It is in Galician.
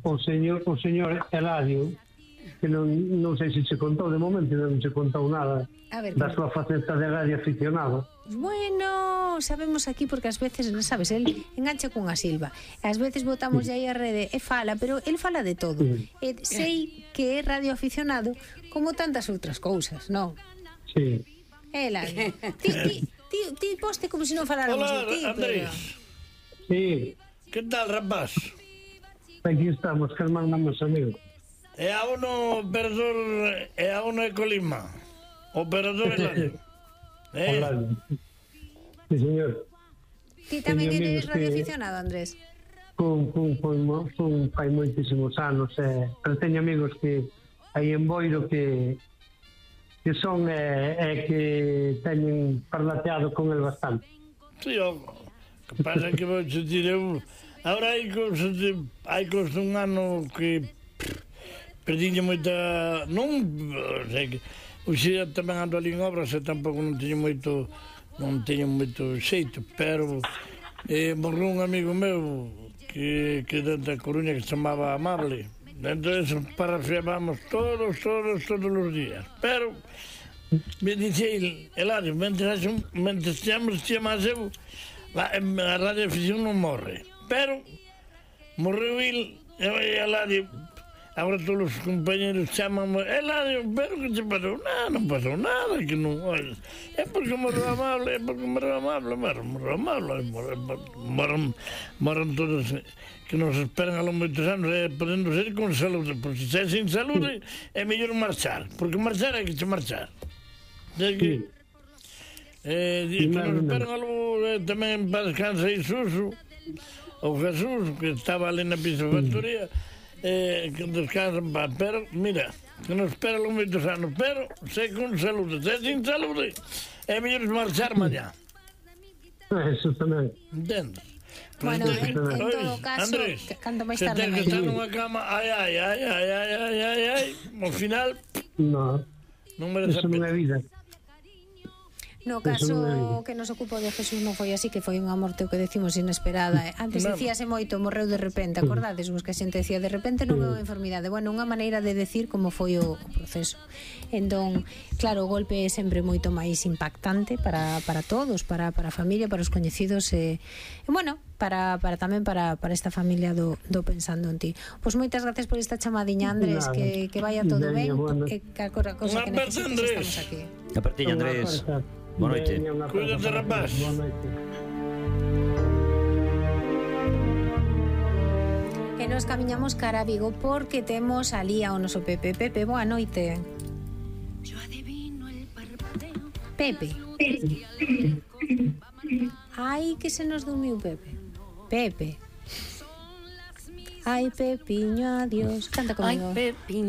o señor Eladio, que non sei se che contou de momento, non che contou nada da súa faceta de radioaficionado. Bueno, sabemos aquí porque ás veces, sabes, el engancha cunha silva. Ás veces botamos aí a rede e fala, pero el fala de todo. Sei que é radioaficionado como tantas outras cousas, non? Sí. Eladio, ti poste como se non faláramos de ti. Hola, Andrés. Sí. Que tal, rapaz? Aquí estamos, que mandamos amigos. É a uno operador, é a uno de Colima. Operador Eladio. Hola. Sí, señor. Ti tamén eres radioaficionado, Andrés? Fai moitísimos anos, pero teño amigos que hai en Boiro que son que teñen parlateado con el bastante. Sí, o que pasa que vou sentir eu. Agora hai cos un ano que perdiñe moita... Non sei que... Oxe, tamén ando ali en obras e tampouco non teño moito xeito, pero morreu un amigo meu que dentro da Coruña que se chamaba Amable. Dentro de eso parafiábamos todos os días. Pero me dicía Eladio, mentre estiamos máis eu, a radioafición non morre. Pero morreu el, e Eladio, agora todos os compañeros chaman Eladio, pero que te pasou? Non pasou nada, que non, é porque morreu Amable, morren todos que nos esperan a lo moitos anos, podendo ser con saúde, porque se é sin saúde é mellor marchar, porque marchar hai que che marchar. Que nos esperan a lo tamén para descansar Isuso, o Jesús, que estaba ali na piscifactoría, que descansan, pero mira, que nos esperan los moitos anos, pero se con saúde, se sin saúde é mellor marchar mañá. Eso tamén. Entendes? Bueno, en todo caso, Andrés, canto máis se tarde ten que estar nunha cama, ai, ao final non merece a pena. Vida. No caso que nos ocupa de Jesús non foi así, que foi unha morte o que decimos inesperada. Antes dicíase moito, morreu de repente, acordades vos que a xente decía de repente non é unha enfermidade. Bueno, unha maneira de decir como foi o proceso. Entón, claro, o golpe é sempre moito máis impactante para todos, para a familia, para os coñecidos e bueno, tamén para esta familia do Pensando en Ti. Pois moitas gracias por esta chamadiña, Andrés, que vaya todo ben, e calquera cosa que necesites estamos aquí. A partiña, Andrés. Boa noite. Cuídate, rapaz. Boa noite. E nos camiñamos cara a Vigo porque temos ali ao noso Pepe. Pepe, boa noite. Pepe. Ai, que se nos durmiu Pepe. Pepe. Ai, Pepiño, adiós. Canta comigo. Ai, Pepiño.